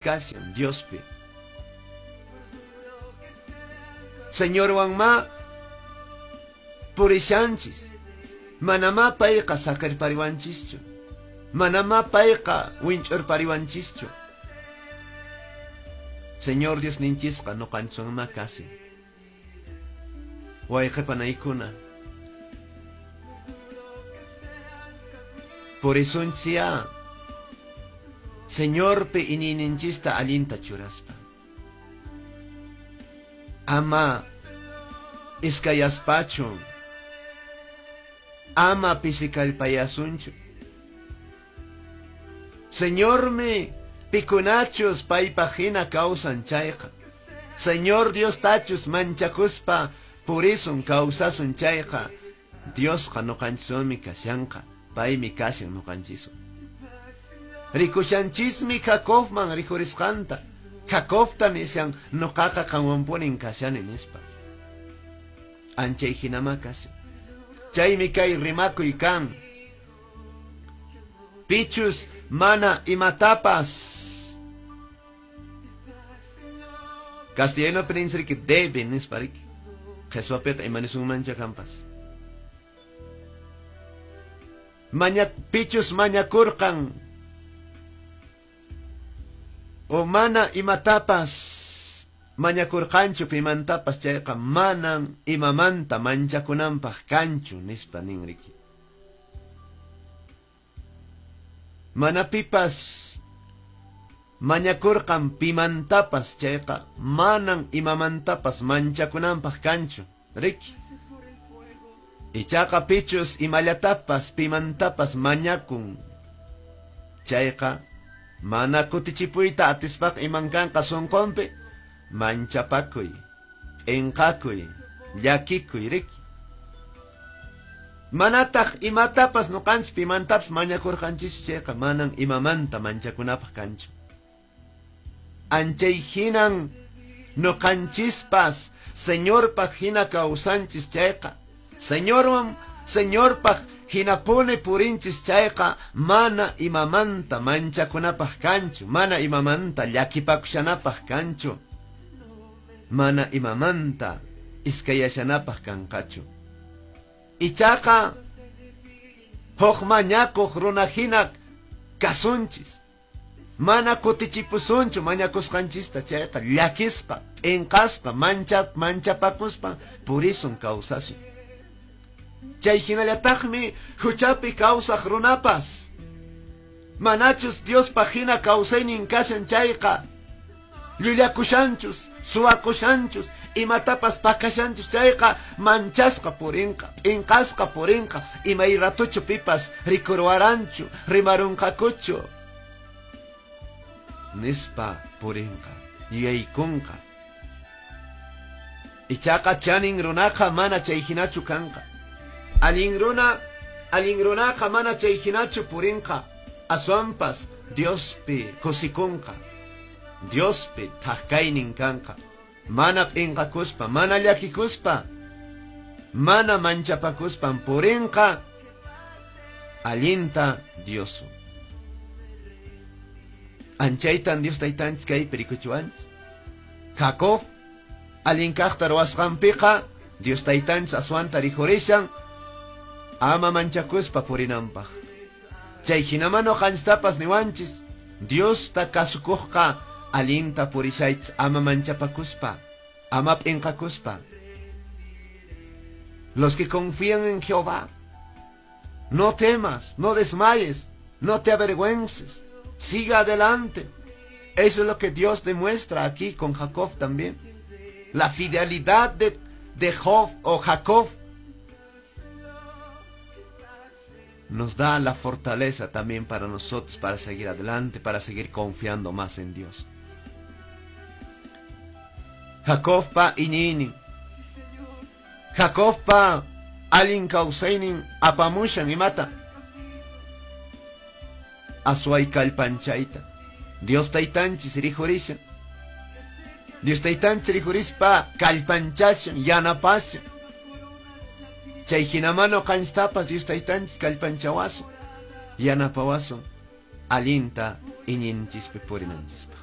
Kashan Diospi. Señorwanma purishanchis. Manamá payqa saqerpariwanchischu. Manamá payqa winch'urpariwanchischu. Señor Dios ninchisqa nuqanchwanma kashan. Wayqipanaykuna. Purisunchis Señorpi iñiyninchista allinta churaspa. Ama iskayaspachu. Ama pisikallpayasunchu. Señormi pikunachus paypaq hina kawsan chayqa. Señor Dios tachus manchakuspa purisun kawsasun chayqa. Diosqa nuqanchiswanmi kashanqa. Paymi kashan nuqanchiswan. Rikushanchismi Jacobman rikurisqanta. Jacobta nishan nuqaqa qanwanpunin kashani nispa. Anchay hinama kashan. Chaymi kay rimakuy kan. Pichus mana imatapas. Castellano que debe nispa riki. Qheswapiqa imanisunmancha kanpas. Pichus mañakurqan o mana imatapas mañakurqanchu pimantapas chayqa manan imamanta manchakunanpaq kanchu nispa nin riki. Mana pipas mañakurqan pimantapas chayqa manan imamantapas manchakunanpaq kanchu riki. Ichaqa pichus imallatapas pimantapas mañakun chayqa mana kutichipuyta atispaq iman kanqa sunqunpi manchapakuy, p'inqakuy, llakikuy riki. Manataq imatapas nuqanchis pimantapas mañakurqanchischu chayqa manan imamanta manchakunapaq kanchu. Anchay hinan nuqanchispas Señorpaq hina kawsanchis chayqa. Señorwan Señorpaq hinapuni purinchis chayqa mana imamanta manchakunapaq kanchu, mana imamanta llakipakushanapaq kanchu, mana imamanta iskayashanapaq kanqachu. Ichaqa huk mañakuq runa hina kasunchis. Mana kutichipusunchu mañakusqanchista chayqa llakisqa, p'inqasqa, manchapakuspa purisun kawsasun. Chay hinallataqmi huchapi kawsaq runapas. Manachus Diospaq hina kawsaynin kashan chayqa llullakushanchus, suwakushanchus, imatapas pakashanchus chayqa manchasqa purinqa, p'inqasqa purinqa, imay ratuchu pipas rikurwaranchu, rimarunqakuchu nispa purinqa, yuyaykunqa. Ichaqa chanin runaqa mana chay hinachu kanqa. Allin runaqa mana chay hinachu purinqa, aswanpas Diospi kusikunqa, Diospi thak kaynin kanqa, mana p'inqakuspa, mana llakikuspa, mana manchapakuspan purinqa allinta Dioswan. Anchaytan Dios taytanchis kaypi rikuchiwanchis. Jacob allin kaqta ruwasqanpiqa Dios taytanchis aswanta rikurishan ama manchakuspa purinanpaq. Chay hinaman nuqanchistapas niwanchis Diosta kasukuqqa allinta purishaychis ama manchapakuspa, ama p'inqakuspa. Los que confían en Jehová, no temas, no desmayes, no te avergüences, siga adelante. Eso es lo que Dios demuestra aquí con Jacob también. La fidelidad de Job o Jacob nos da la fortaleza también para nosotros, para seguir adelante, para seguir confiando más en Dios. Jacobpa iñiynin. Jacobpa allin kawsaynin apamushan imata. Asway kallpanchayta. Dios taytanchis rikurishan. Dios taytanchis rikurispa kallpanchashan, yanapashan. Chay hinaman nuqanchistapas Dios taytanchis kallpanchawasun, yanapawasun allinta iñinchispi purinanchispaq.